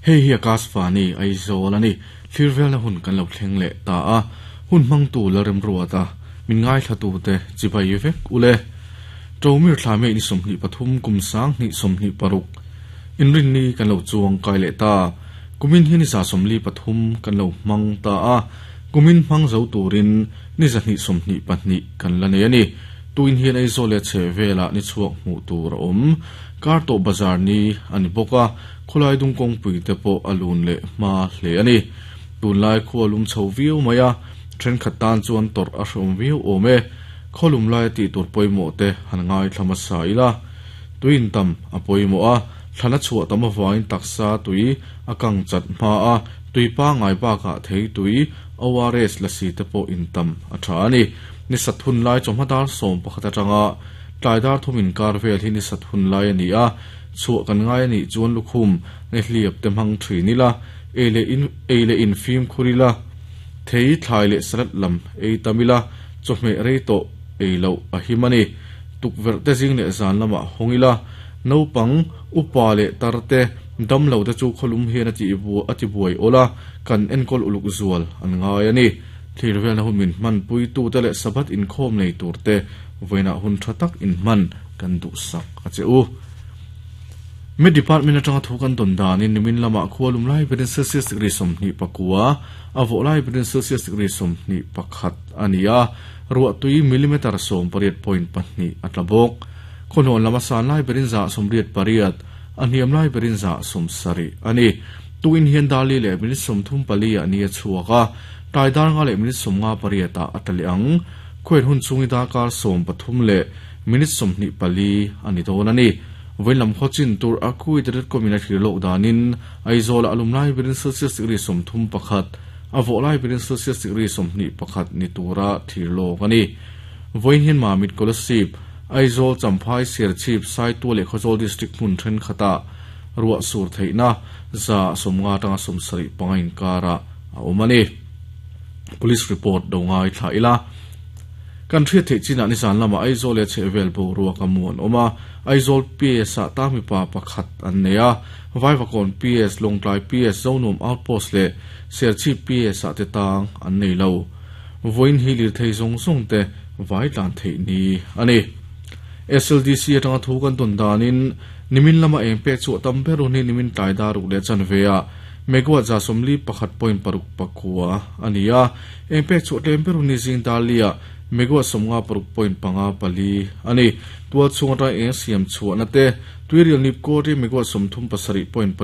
Hei hi Akashvani, Aizawl a ni. Thlir velna hun kan lo thleng leh ta a, hun hmangtu Lalremruata, min ngaithlatute chibai vek u le. Ṭomir thla May ni 23 kum 2026 inrinni kan lo chuang kai leh ta. Kumin hi ni 43 kan lo hmang ta a, kumin hmang zo turin ni 222 kan la nei a ni. Tuin hian Aizawl leh a chhehvelah ni chhuak hmuh tur a awm. Kartawh bazar ni a ni bawk a, khawlai dung kawngpui te pawh a lun leh hma hle a ni. Tunlai khua lum chho viau mai a, thenkhat tan chuan tawrh a hreawm viau awm e. Khawlum laia tih tur pawimawh te han ngaithla hmasa ila. Tui intam a pawimawh a, thlan a chhuah tam avangin taksa tui a kang chat hma a, tui pangngai bakah thei tui, ORS, lasi te pawh intam a tha a ni. Ni sat hun lai chawhma dar 11 atanga tlai dar thum inkar vel hi ni sat hun lai a ni a, chhuah kan ngai a nih chuan lukhum nge hliap te hmang thin ila, ei leh in ei leh in fimkhur ila, thei thlai leh salad lam ei tam ila, chawhmeh rei tawh ei loh a him a ni. Tukverh te zing leh zan lamah hawng ila, naupang, upa leh tar te, damlo te chu khawlum hian a tih a tibuai awl a, kan enkawl uluk zual an ngai a ni. Thlir velna hun min hmanpuitute leh Sabbath inkhawm nei turte vawiinah hun tha tak inhman kan duhsak a che u. Met Department atanga thu kan dawn danin nimin lamah khua lum lai berin Celsius degree 29, a vawh lai berin Celsius degree 21 a ni a, ruahtui millimeter 18.2 a tla bawk. Khawhnawn lama san lai berin 88, a hniam lai berin 70 a ni. Tukin hian Dali leh minute 34 ah ni a chhuak a, tlai dar nga leh minute 58 ah a tla leh ang. Khuain hun chhungi darkar 13 leh minute 24 a ni dawn a ni. Vawiin khaw chin tur a Kuwait.com in a thlir lawk danin Aizawl ah a lum lai berin Celsius degree 31, a vawh lai berin Celsius degree 21 ni tura thlir lawk a ni. Vawiin hian Mamit Kolasib, Aizawl, Champhai, Serchhip, Saitual leh Khawzawl District hmun thenkhatah ruah sur theihna 50 atanga 75 inkarah a awm a ni. Police report do ngai thlah ila. Kan hriat theih chinah nizan lamah Aizawl leh chhehvel boruak a mu an awm a, Aizawl PS ah tang mipa pakhat an nei a, Vaivakawn PS, Lawngtlai PS, Zonuam Outpost leh Serchhip PS ah te tang an nei lo. Vawiin hi lirthei zawng zawng te vai tlan theih ni a ni. SLDC atanga thu kan tawn danin nimin lama eng pek chhuah tam ber hun hi nimin tlai dar ruk leh chanve ah megawatt 41.6 pakua a ni a, eng pek chhuah tlem ber hun hi zing dar li ah megawatt 56.54 a ni. Tual chhung atanga eng siam chhuahna te tuirial nip kawr hi megawatt 37.7.